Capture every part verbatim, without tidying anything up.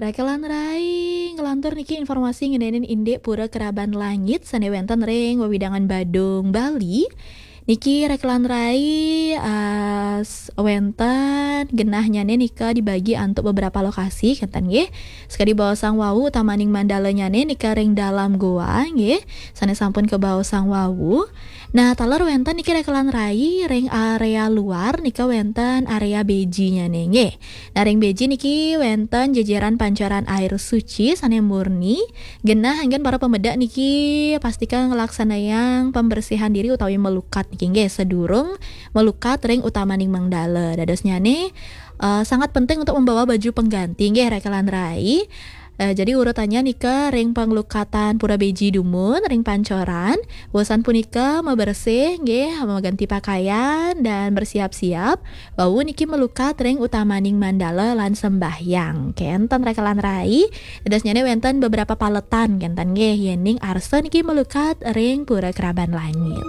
Rekelan rai, ngelantur niki informasi ngeninin indik Pura Keraban Langit sane wenten ring wewidangan Badung, Bali. Niki rekelan rai, eh, s-, wenten genahnyane nika dibagi antuk beberapa lokasi, kenten nggih. Sekadi baosang wau, utamaning mandalanyane nika ring dalam goa nggih, sane sampun kabaosang wau. Nah, taler wenten niki rekelan rai ring area luar nika wenten area bejinyane nggih. Nah, ring beji niki wenten jejeran pancaran air suci sane murni, genah anggen para pamedek niki pastika nglaksanayang pembersihan diri utawi melukat niki nggih, sedurung melukat ring utamaning mandala. Dadosnyane, eh, sangat penting untuk membawa baju pengganti nggih, rekelan rai. Eh, jadi urutannya nika ring panglukatan pura beji dumun, ring pancoran, wusan punika mabersih nggih, maganti pakaian dan bersiap-siap. Wau niki melukat ring utamaning mandala lan sembahyang. Kenten rekelan rai, dadosnyane wenten beberapa paletan kenten nggih, yening arsa niki melukat ring Pura Keraban Langit.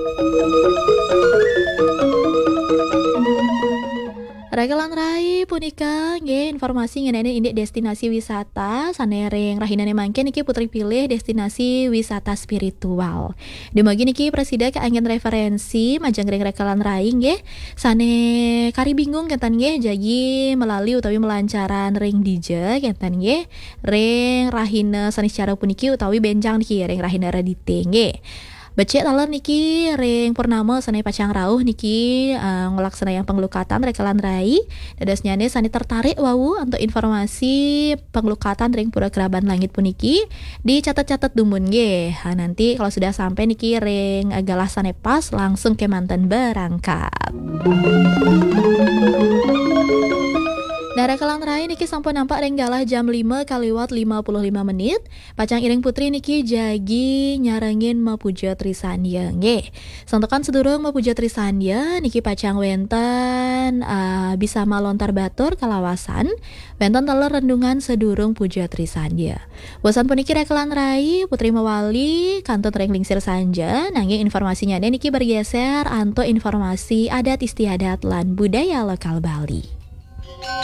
Rekelan rai punika nggih informasi ngenani indik destinasi wisata sane ring rahinane mangkin niki Putri pilih destinasi wisata spiritual. Dumugi niki prasida kaanggen referensi majeng ring rekelan rai nggih sane kari bingung kenten nggih jagi melali utawi melancaran ring dija kenten nggih ring rahina Saniscara puniki utawi benjang niki ring rahina Redite nggih. Becik taler niki ring purnama sane pacang rauh niki, eh, nglaksanayang panglukatan rekelan rai. Dadosnyane sane tertarik wau antuk informasi panglukatan ring Pura Keraban Langit puniki, dicatet-catet dumun nggih. Ha, nanti kalau sudah sampai niki ring, eh, galah sane pas, langsung kemanten berangkat. Nah, rekelan rai niki sampun nampak ring galah jam lima kaliwat lima puluh lima menit. Pacang iring putri niki jagi nyarengin mapuja Trisandya nggih. Santukan sedurung mapuja Trisandya niki pacang wenten, ah, bisa malontar batur kalawasan, wenten taler renungan sedurung puja Trisandya. Wusan puniki rekelan rai, putri mawali kantun ring lingsir sanja, nanging informasinyane niki bergeser antuk informasi adat istiadat lan budaya lokal Bali.